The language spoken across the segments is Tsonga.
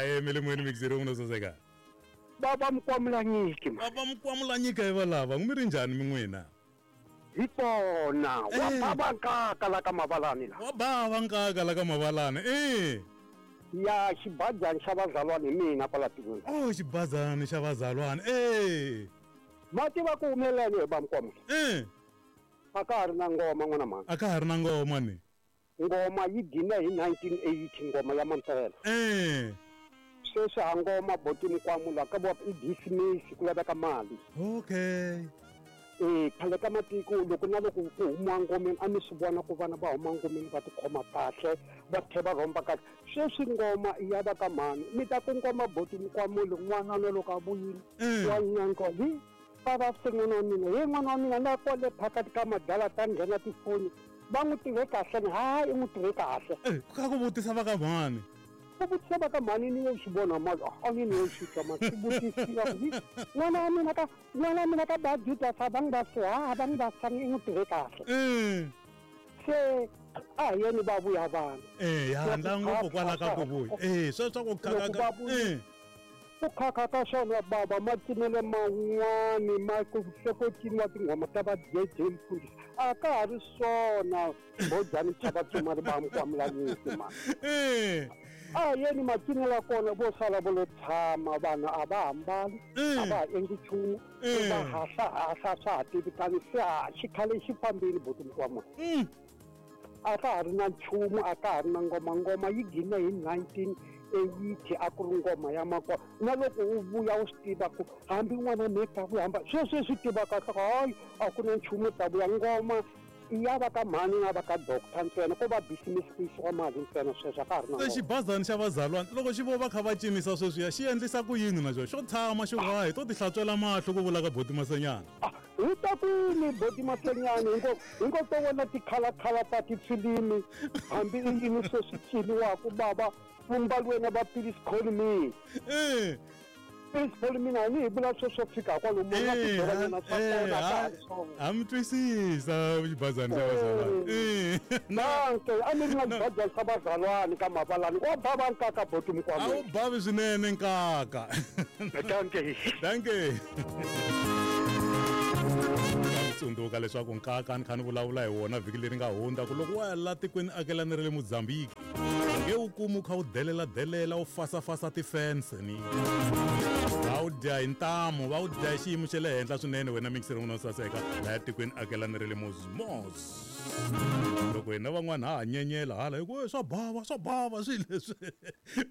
Ahe mi le moyeni mixeri n'wina saseka. Baba Mukwamulanyiki ma. Baba Mukwamulanyika hi valava mi ri njhani mi n'wina? Hi kona wa Eh. baba nkaka la ka mavalani la. Wa bava nkaka la ka mavalani eh. Ya xibajani xa vazalwana hi mina kwala tikweni. Oh xibazani xa vazalwana eh. Ma tiva ku humelele hi ba Mukwamula. Eh. A ka ha ri na ngoma n'wana mhani. A ka ha ri na ngoma ni. Ngoma yi gine hi 1980 ngoma ya mampela. Eh. Sweswi ha ngoma boti Mukwamula ka vo i business ku laveka mali. Okay. Eh khale ka matiko loko na loko ku humiwa ngomeni a mi swi vona ku vana va huma ngomeni va tikhoma kahle va tlhe va rhomba kahle sweswi ngoma i ya va ka mhani mi ta ku ngoma boti Mukwamuli n'wana na loko a vuyile Mm. wa nyanko hi va va se n'wana wa mina he n'wana wa mina na kwale phakati ka madala ta nghena tifoni va n'wi tive kahle ni hayi i n'wi tive kahle Eh, ka ku vutisa va ka mhani. Ku vutisa va ka mhani ni yo swi vona ma a ni ni yo swi twa ma swi vutisiwa ku hi n'wana wa mina ka n'wana wa mina ka ba Judas a va n'wi va se ha va n'wi va sangi i n'wi tive kahle Eh. se a hi yeni va vuya vana Eh, ya handla ngopfu kwala ka ku vuya. Eh, sweswo ku Loko khaka va vuya- eh. ku khakha ka swona baba ma cinele man'wani ma ku se ko ciniwa tinghoma ta va DJ Mfundhisi a ka ha ri swona bojani chava tsumari va Mukwamulanyiki ma Eh. a hi yeni macinelo ya kona vo sala vo lo tshama vanhu a va hambali a va ha endli nchumu Mm. va hahlahahla swa ha tivikani se ha xikhale xi fambile boti Mukwamula Mm. a ka ha ri na nchumu a ka ha ri na ngoma ngoma yi gine hi 1980 a ku ri ngoma ya makwa na loko u vuya u swi tiva ku hambi n'wana me ta vuya hamba sweswi swi tiva kahle ku hayi a ku na nchumu ta vuya ngoma i ya va ka mhani na va ka doctor ntsena ko va business ku yisiwa mali ntsena sweswo a ka ha ri na Se ngoma xibazani xa vazalwana loko xi vo va kha va cinisa sweswiya xi endlisa ku yini na xona xo tshama xi ku hayi to ti hlantswela mahlo ku vula ka boti Masenyana. Ah, hi ta kwini boti Masenyani hingo hingo to vona tikhalakhala ta tifilimi hambi i yini sweswi ciniwaku baba vumbalweni va Please Call Me. Eh. Please Call Me na ni hi vula sweswo fika kwalomu na Eh, tibyelanyana swa eh, kona ka ha ha ri swona. ha mi twisisa xibazani xa vazalwana. Eh. Danke a mi ri na xibajani xa vazalwani ka mavalani wa bava nkaka boti A wu Mukwamula. bavi swinene nkaka. Danke. Danke. Tsundzuka leswaku nkaka ni kha ni vulavula hi wona vhiki leri nga hundza ku loko wa ya la tikweni akelani ra le Mozambique nge wu kumi wu kha wu delela delela wu fasafasa tifense ni va wu dya hi ntamu va wu dya hi xiyimo xa le henhla swinene wena mixeri n'wina wo saseka laya tikweni akelani ra le Mozmos loko hina van'wana ha ha nyenyela hala hi ku "Eh, swa bava swa bava swilo leswi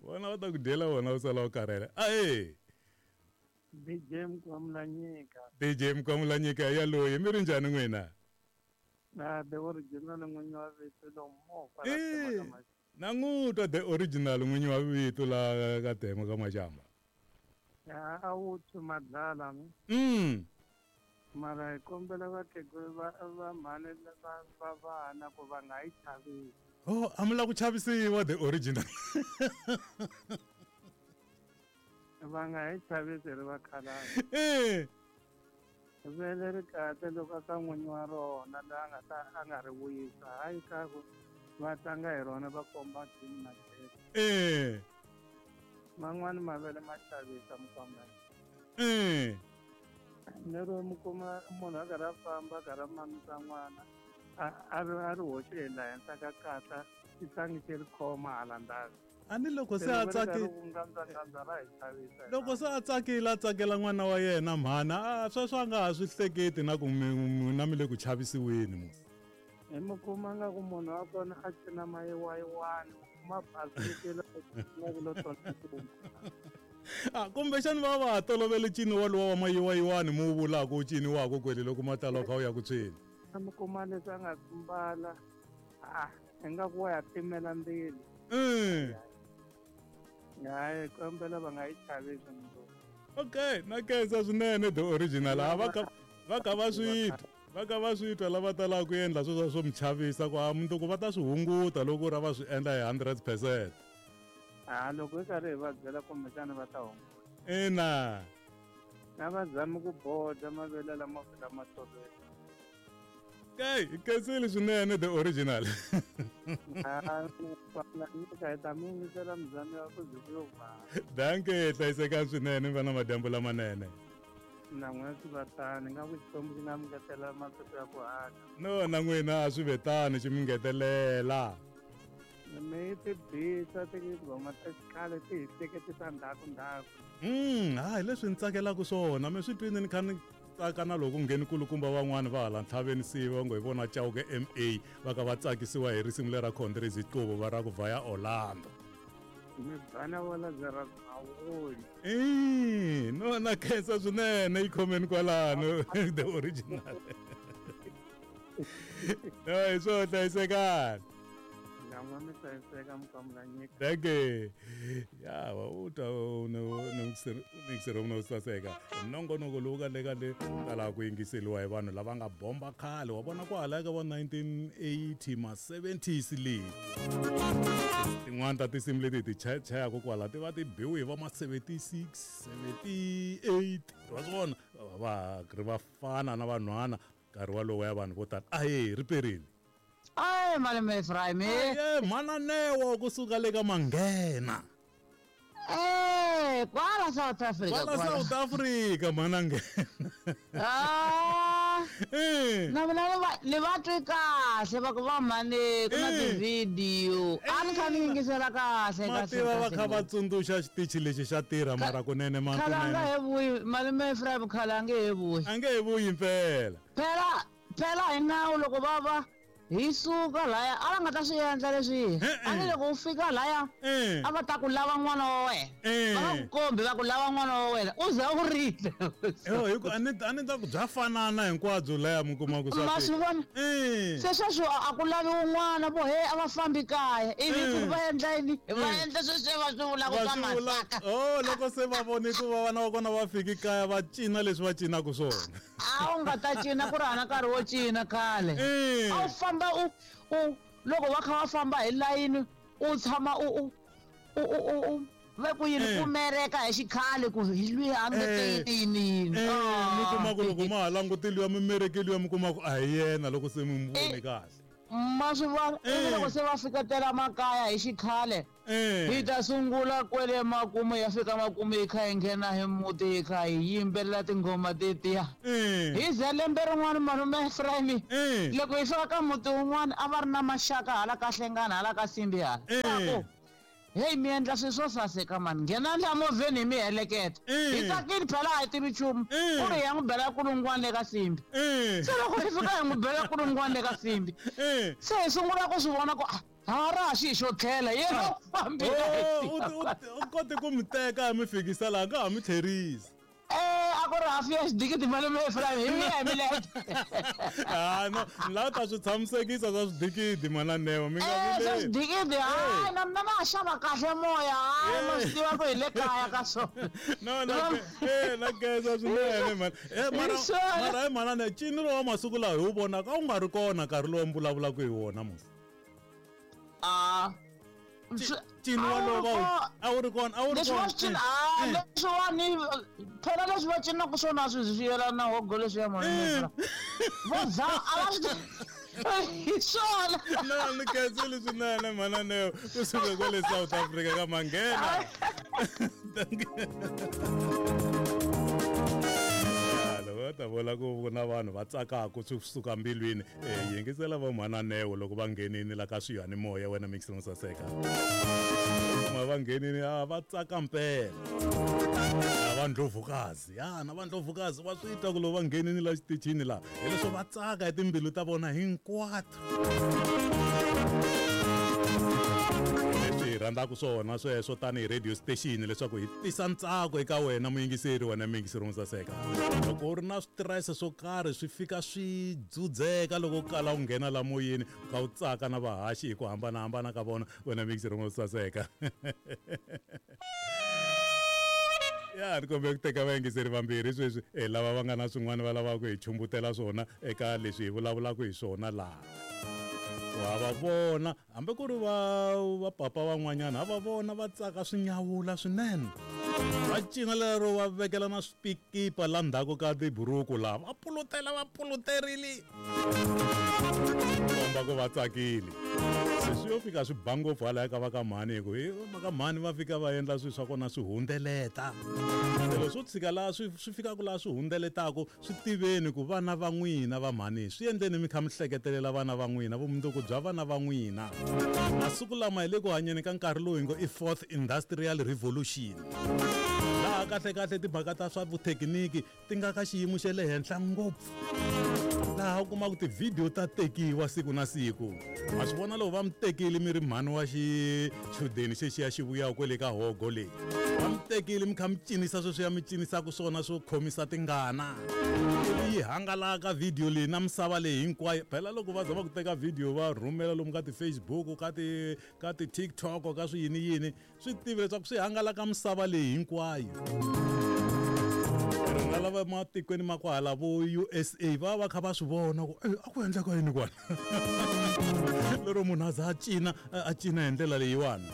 vona va ta ku dyela wona u sala u karhele ahe DJ Mukwamulanyika DJ Mukwamulanyika ya loyi mi ri njhani n'wina na the original n'winyi wa vito lomu kwala Eh. Tema ka Maxamba. na n'wi twa the original n'winyi wa vito la ka Tema ka Maxamba Ya, a wu tshwi madlala mi mara hi kombela vakhegula va va mhani va va vana ku va nga yi chavisi Oh, a mi la ku chavisiwa the original va nga hi chavisi ri vakhalabye eh vele ri kahle loko a ka n'winyi wa rona loyi a nga ta a nga ri vuyisa hayi ka ku va tlanga hi rona va komba jini na jeke eh man'wani mavele ma chavisa Mukwamulanyika eh lero mi kuma munhu a karhi a famba a karhi a mamisa n'wana a ri a ri hoxe hi la henhla ka katla xitlangi xi ri khoma hala ndzhaku a ni loko se a tsaki ngandza ra hi chavisa loko se a tsakile a tsakela n'wana wa yena mhana a sweswo a nga ha swi hleketi na ku n'wina mi le ku chavisiweni musi hi mi kuma nga ku munhu wa kona a cina mayiwayiwani u kuma basikile ku lo tona a kumbexani va va ha tolovele ncino walowa wa mayiwayiwani mu wu vulaka wu ciniwaka kwele loko matalo kha wu ya ku tshweni mi kuma leswi a nga swi mbala a ingaku wa ya timela ndzilo Mm. hayi kombela va nga yi chavisi mundzuku Okay, na khensa swinene the original a va ka va ka va swi twa va ka va swi twa lava talaka ku endla sweswo swo mi chavisa ku a mundzuku va ta swi hunguta loko ra va swi endla hi 100%. Ha loko hi karhi hi va byela kumbexana va ta hunguta Ina. Na va zami ku boda mavele lama fika ma tolovela. Okay, khensile swinene the original. Nyika hi ta mi yingisela muzami wa ku ze ku yo va. Dankie, hlayisekani swinene mi va na madyambu lamanene. Na n'wina swi va tani nga ku Xikwembu xi nga mi ngetela masiku ya ku hanya. No na n'wina a swi ve tani xi mi ngetelela. Mi ti bisa tinghoma ta xikhale ti hi hleketisa ndzhaku ndzhaku. Hayi leswi ni tsakelaka swona mi swi twini ni kha ni tsaka na loko ngheni kulukumba van'wani va hala ntlhaveni siva va ngo hi vona Chauke MA va ka va tsakisiwa hi risimu lera Khondrezi Qobo va ra ku vhaya Orlando. Mi bana wa Lazarus Mawoni. Eh, no na khensa swinene yi khomeni kwalano the original. No hi swo hlayisekani. Nyan'wa mi hlayiseka mukamulanyika. Thank you. Ya wa u twa mixero no saseka. Nongonoko lowu ka le ka le tala ku yingiseriwa hi vanhu lava nga bomba khale wa vona kwala ka va 1980 ma 70s le. Tin'wana ta tinsimu leti hi ti chayaka kwala ti va ti biwe hi va ma 76, 78 wa swi vona va ri vafana na vanhwana nkarhi walowo ya vanhu vo tala. Ahee ri perile. Ay, malume Ephraim. Aye, mhana kusuka le ka Manghena. Eh, kwala South Africa. Kwala South Africa mhana nghena. Ah. Eh. Na mina ni va twi kahle va ku va mhani ku na ti-video. A ni kha ni yingisela kahle Ma kahle. tiva va kahle kha va ngopfu. tsundzuxa xitichi lexi xa tirha mara kunene ma Khale a nga kunene. he vuyi malume Ephraim khale a nge he vuyi. A nge he vuyi mpela. Phela phela hi nawu loko va va hi suka laya a va nga ta swi endla leswi a ni loko u fika laya a va ta ku lava n'wana wa wena va nga ku kombi va ku lava n'wana wa wena u za u rila Yo hi ku a ni a ni ta ku bya fanana hinkwabyo laya mi kuma ku swa ma swi vona se sweswo a ku lavi un'wana vo he a va fambi kaya ivi ku va endla yini va endla sweswiya va swi vulaka Va swa swi vula masaka oh loko se va vone ku va vana va kona va fiki kaya va cina leswi va cinaka swona. A wu nga ta cina ku ri hana nkarhi wo cina khale a wu famba u u loko va kha va famba hi layini u tshama u u u u u u ve ku yini ku mereka hi xikhale ku hi lwiya a nge te yini yini Mi kuma ku loko ma ha langutile ya mimerekeli ya mi kuma ku a hi yena loko se mi n'wi vone kahle. Ma swi vona ivi loko se va fiketela makaya hi xikhale hi ta sungula kwele makumu ya fika makumu hi kha hi nghena hi muti hi kha hi yimbelela tinghoma tetiya hi ze lembe rin'wana malume Ephraim loko hi fika ka muti wun'wana a va ri na maxaka hala ka Hlengana hala ka Simbi hala ku heyi mi endla swilo swo saseka mani nghenani la movheni hi mi heleketa hi tsakile phela a hi tivi nchumu ku ri hi ya n'wi bela kulungwana le ka Simbi se loko hi fika hi n'wi bela kulungwana le ka Simbi se hi sungula ku swi vona ku ha ra ha xi xo tlhela yena u fambile U kote ku mi teka mi fikisa laha nga ha mi tlherisi. Eh, a ku ri hafu ya xidikiti malume Ephraim hi miya hi milenge. Ah no, ni lava ta swi tshamisekisa swa swidikidi mhana Neo mi nga Eh, swa vileli. swidikidi hayi na mina na ha xava kahle moya hayi ma swi tiva ku hi le kaya ka swona. No na na khensa swinene mhana. Eh mara mara hi mhana Neo ncino lowa masiku lawa hi wu vonaka a wu nga ri kona nkarhi lowu mi vulavulaka hi wona musi. Ah. Ncino walowo va wu a wu ri kona a wu ri Leswi va kona. swi cina ah leswiwani phela leswi va cinaka swona swi swi yelana na hogo leswiya malume. Vo za a va swi hi swona. No ni khensile swinene mhana Neo kusuka kwale South Africa ka Manghena. Va ta vula ku na vanhu va tsakaka swi suka mbilwini yingisela va mhana Neo loko va nghenini la ka swiyanimoya wena mixer mo saseka ma va nghenini a va tsaka mpela na va ndlovukazi ya na va ndlovukazi va swi twa ku loko va nghenini la xitichini laha hileswo va tsaka hi timbilu ta vona hinkwato leswi hi rhandzaka swona sweswo tanihi radio station leswaku hi tisa ntsako eka wena muyingiseri wena muyingiseri wo saseka loko u ri na switirese swo karhi swi fika swi dzudzeka loko u kala u nghena la moyeni u kha u tsaka na vahaxi hi ku hambanahambana ka vona wena muyingiseri wo saseka ya ni kombela ku teka vayingiseri vambirhi sweswi lava va nga na swin'wana va lavaka hi chumbutela swona eka leswi hi vulavulaka hi swona laha wa va vona hambi ku ri va va papa van'wanyana ha va vona va tsaka swi nyawula swinene. Va cina lero va vekela na swipikipa la ndzhaku ka tiburuku laha va pulutela va puluterile komba ku va tsakile. Se swi yo fika swi ba ngopfu halaya ka va ka mhani hi ku va ka mhani va fika va endla swilo swa kona swi hundzeleta. Se loko swo tshika laha swi swi fikaka laha swi hundzeletaku swi tiveni ku vana va n'wina va mhani swi endleni mi kha mi hleketelela vana va n'wina vumundzuku bya vana va n'wina. Masiku lama hi le ku hanyeni ka nkarhi lowu hi ngo i fourth industrial revolution laha kahlekahle timhaka ta swa vuthekiniki ti nga ka xiyimo xa le henhla ngopfu laha u kumaka tivhidiyo ta tekiwa siku na siku. Ma swi vona loko va mi tekile mi ri mhani wa xichudeni xexiya xi vuyaka kwele ka hogo leyi va mi tekile mi kha mi cinisa sweswiya mi cinisaka swona swo khomisa tingana ivi yi hangalaka vhidiyo leyi na misava leyi hinkwayo. Phela loko va za va ku teka vhidiyo va rhumela lomu ka ti-Facebook ka ti ka ti-TikTok ka swi yini yini swi tivi leswaku swi hangalaka misava leyi hinkwayo. Rona lava matikweni ma kwahala vo USA va va kha va swi vona ku a ku endleka yini kwala lero munhu a za a cina a cina hi ndlela leyiwani.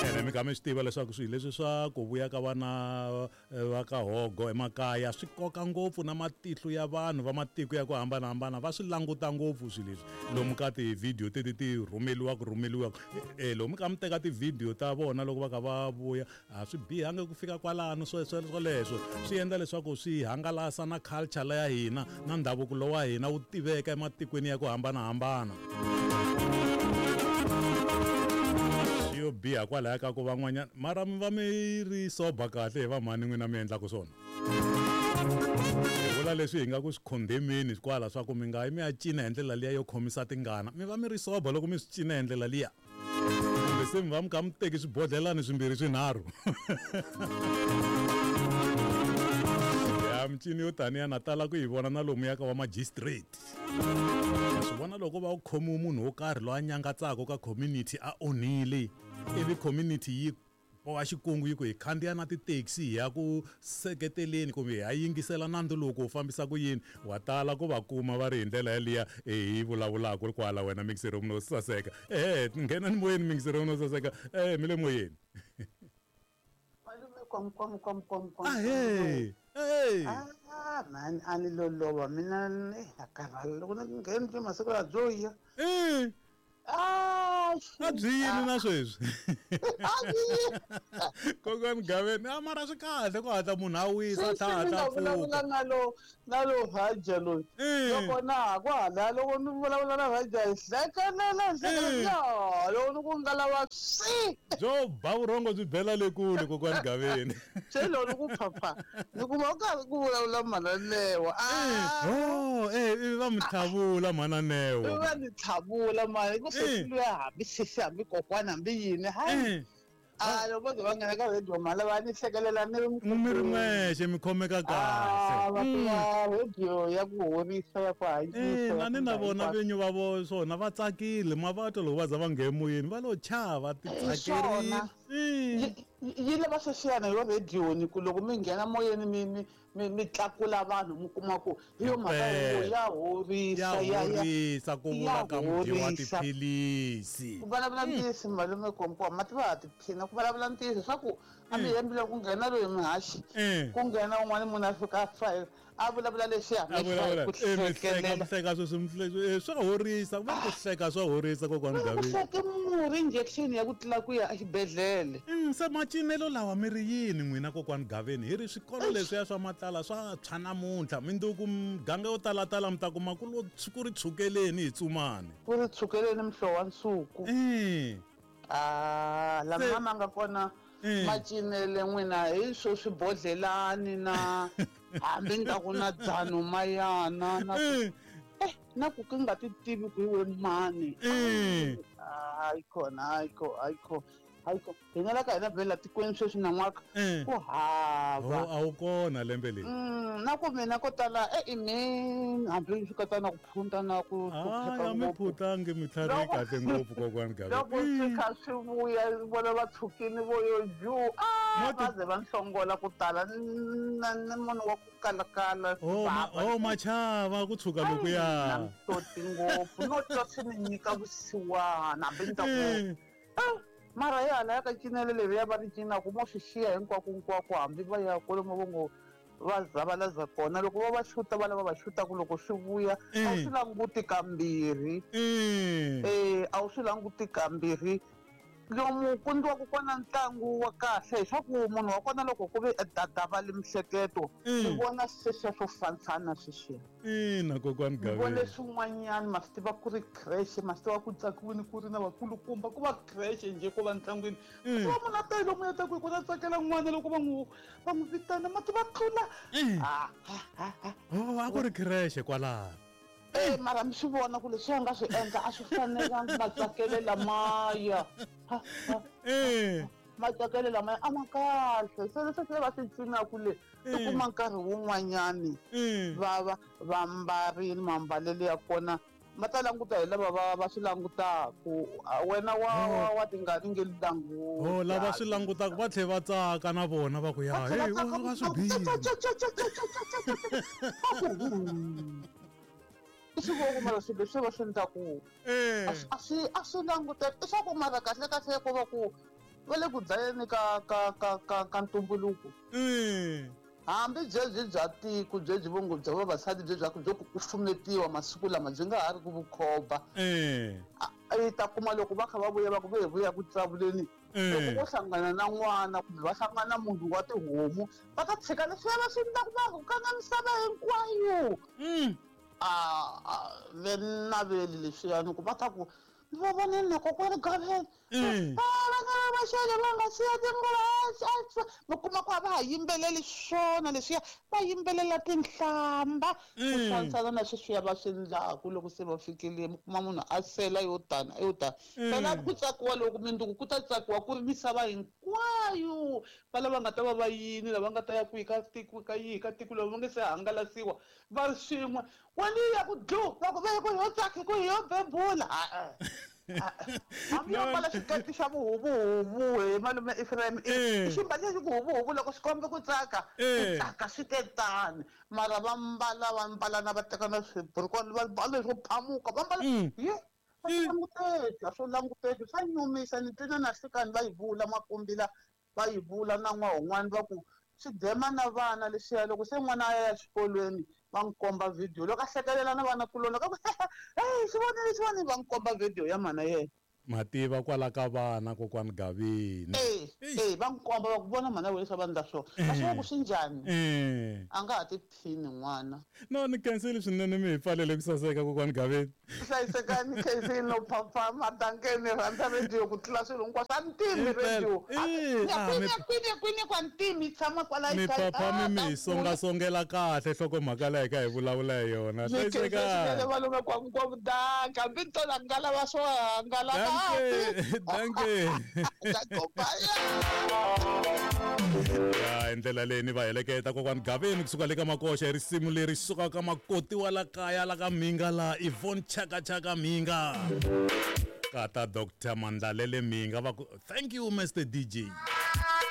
Ene mi kha mi swi tiva leswaku swilo leswi swa ku vuya ka vana va ka hogo emakaya swi koka ngopfu na matihlo ya vanhu va matiko ya ku hambanahambana va swi languta ngopfu swilo leswi lomu ka tivhidiyo teti ti rhumeliwaka rhumeliwaka. Lomu ka mi teka tivhidiyo ta vona loko va kha va vuya a swi bihangi ku fika kwalano swoleswo swi endla leswaku swi hangalasa na culture la ya hina na ndhavuko lowa wa hina wu tiveka ematikweni ya ku hambanahambana. Swi yo biha kwalaya ka ku van'wanyana mara mi va mi ri soba kahle hi vamhani n'wina mi endlaka swona. Hi vula leswi hi nga ku swi condemeni kwala swa ku mi nga yi mi ya cina hi ndlela liya yo khomisa tingana mi va mi ri soba loko mi swi cina hi ndlela liya kumbe se mi va mi kha mi teki swibodhlelani swimbirhi swinharhu. Ya mincino yo taniya na tala ku yi vona na lomuya ka va magistrate. Swi vona loko va u khomiwe munhu wo karhi loyi a nyangatsaka ka community a onhile ivi community yi boha xikungu yi ku hi khandziya na ti-taxi hi ya ku seketeleni kumbe hi ya yingisela nandzu lowu ku wu fambisa ku yini wa tala ku va kuma va ri hi ndlela yaliya hi vulavulaka kwala wena mixero no saseka. Ehe nghenani moyeni mixero no saseka mi le moyeni. Malume kom kom kom kom kom. Ahee hey. Ah man a ni lolova mina na karhala loko ni ngheni masiku ya byo ya. A byi yini na sweswi? Kokwani Gaveni a mara swi kahle ku hatla munhu a wisa a tlha hatla vulavula na lo na lo Raja loyi. Loko na ha ku hala loko ni vulavula na Raja hi hlekelela hi hlekelela loko ni ku nga lava swi. Byo ba vurhongo byi bela le kule kokwani Gaveni. Se loko ni ku phapha ni kuma u karhi ku vulavula mhana Newa. Oh ivi va mi tlhavula mhana Newa. Va ni tlhavula mani ku sesi luya hambi sesi hambi kokwana hambi yini hayi. A loko vo ze va nghena ka radio mhala va ni hlekelela ni ri mi ri n'wexe mi khomeka kahle. Va tiva radio ya ku horisa ya ku hanyisa. Na ni na vona vinyi va vo swona va tsakile ma va twa loko va za va nghena emoyeni va lo chava ti tsakerile. Yi lava sweswiyana yo radioni ku loko mi nghena moyeni mi mi mi mi tlakula vanhu mi kuma ku hi yo mhaka ya horisa ya horisa ku vula ka mudyi wa tiphilisi. Ku vulavula ntiyiso malume Kompo ma tiva ha tiphina ku vulavula ntiyiso swa ku a mi hembile ku nghena loyi muhaxi ku nghena un'wana munhu a fika a a vulavula leswiya mi hlekelela hleka sweswi swa horisa ku va ku hleka swa horisa kokwani Gaveni. Ku hleke murhi injection ya ku tlula ku ya exibedhlele. Se macinelo lawa mi ri yini n'wina kokwani Gaveni hi ri swikolo leswiya swa matlala swa tshwa namuntlha minduku miganga yo talatala mi ta kuma ku lo ku ri tshukeleni hi tsumani. Ku ri tshukeleni muhlovo wa nsuku. Ah lama ma nga kona macinele n'wina hi swo swibodhlelani na hambi ni ta ku na dzano mayana na na ku ku nga ti tivi ku iwe mani. Hayi khona hayi kho hayi kho hayi kho hina la ka hina vhela tikweni sweswi nan'waka ku hava. A wu kona lembe leri. Na ku mina ko tala imi hambi swi katsa na ku phunta na ku a mi phutangi mi tlhari kahle ngopfu kokwani Gaveni. Loko swi kha swi vuya vona va tshukini vo yo ju va ze va nhlongola ku tala na munhu wa ku kalakala. Oh machava ku tshuka lokuya. Na mihloti ngopfu no twa swi ni nyika vusiwana hambi ni ta ku Mara hi hala ya ka cinelo leriya va ri cinaka mo swi xiya hinkwako-nkwako hambi va ya kwalomu vo ngo va zavalaza kona loko va va xuta va lava va xutaku loko swi vuya a wu swi languti kambirhi e a wu swi languti kambirhi lomu ku ndliwaka kona ntlangu wa kahle hiswaku munhu wa kona loko ku ve dadavali mihleketo u vona sweswiya swo fansana sweswiya Ina kokwani Ni vone Gaveni. swin'wanyana ma swi tiva ku ri creche ma swi tiva ku tsakiwini ku ri na vakulukumba ku va creche njhe ko va ntlangwini ma tiva munhu a ta yi lomu ya ta ku kona tsakela n'wana loko va n'wi va n'wi vitana ma tiva tlula Ah, ah, ah, ah. Oh, a ku ri creche kwalano. Eh, mara mi swi vona ku leswi a nga swi endla a swi fanelanga matsakele lamaya Ha, ha. Eh. Matsakele lamaya a ma kahle se leswi se va swi cinaku le i kuma nkarhi wun'wanyani va va va mbarile mambalelo ya kona ma ta languta hi lava va va swi langutaku wena wa wa wa tingani nge languti Oh, lava swi langutaka va tlhe va tsaka na vona va ku ya hey va swi bile. I swi vo ku mara swilo leswi va swi endlaku a swi a swi languteka i swa ku mara kahle kahle ko va ku va le ku dlayeni ka ka ka ka ka ntumbuluko hambi byebyi bya tiko byebyi vongo bya vavasati bye bya byo ku kufumetiwa masiku lama byi nga ha ri ku vukhomba i ta kuma loko va kha va vuya va ku ve hi vuya ku tsavuleni loko vo hlangana na n'wana kumbe va hlangana na munhu wa tihomu va ta tshika leswiya va swi endlaku va rhukana misava hinkwayo a ve naveli leswiyani ku va ta ku va vonile na kokwani Gaveni vana va xele va nga siya tinguva mi kuma ku a va ha yimbeleli swona leswiya va yimbelela tinhlamba ku fanisana na sweswiya va swi endlaku loko se va fikile mi kuma munhu a sela yo tana yo tana phela ku tsakiwa loko mindzuku ku ta tsakiwa ku ri misava hinkwayo va lava nga ta va va yini lava nga ta ya kwihi ka tiko ka yihi ka tiko lava va nge se hangalasiwa va ri swin'we wena yi ya ku dlu va ku ve ku yo tsaka ku yo bebula hambi yo mbala xiketi xa vuhuvuhuvu hi malume Ephraim i ximbali lexi ku huvuhuvu loko swi kombe ku tsaka ku tsaka swi te tani mara va mbala va mbala na va teka na swiburukwana va mbala leswo phamuka va mbala ye a swi languteki a swi languteki swa nyumisa ni twile na nhlikani va yi vula makumbila va yi vula na n'wahun'wani va ku swi dema na vana leswiya loko se n'wana a ya exikolweni va n'wi komba video loko a hlekelela na vana kuloni ka ku hey xi vonile xi vonile va n'wi komba video ya mhana yena mativa kwala ka vana kokwani Gavini eh eh va n'wi komba va ku vona mhana wena leswi va endla swona a swi va ku swi njhani a nga ha tiphini n'wana no ni khensile swinene mi hi pfalele ku saseka kokwani Gavini hlayisekani khensile no phaphama dankeni rhandza radio ku tlula swilo hinkwaswo a ni timi radio kwini kwini kwini kwa ntimi tshama kwala mi phaphami mi hi songasongela kahle nhlokomhaka leyi ka hi vulavula hi yona hlayisekani malume kwa kwa vudaka hambi ni to hangalava swo hangalaka Danke. Ya hi ndlela leyi ni va heleketa kokwani Gaveni kusuka le ka Makoxa hi risimu leri sukaka makoti wa la kaya la ka Mhinga la Yvonne Chaka Chaka Mhinga kata Dr. Mandlalele Mhinga va ku thank you Mr. DJ.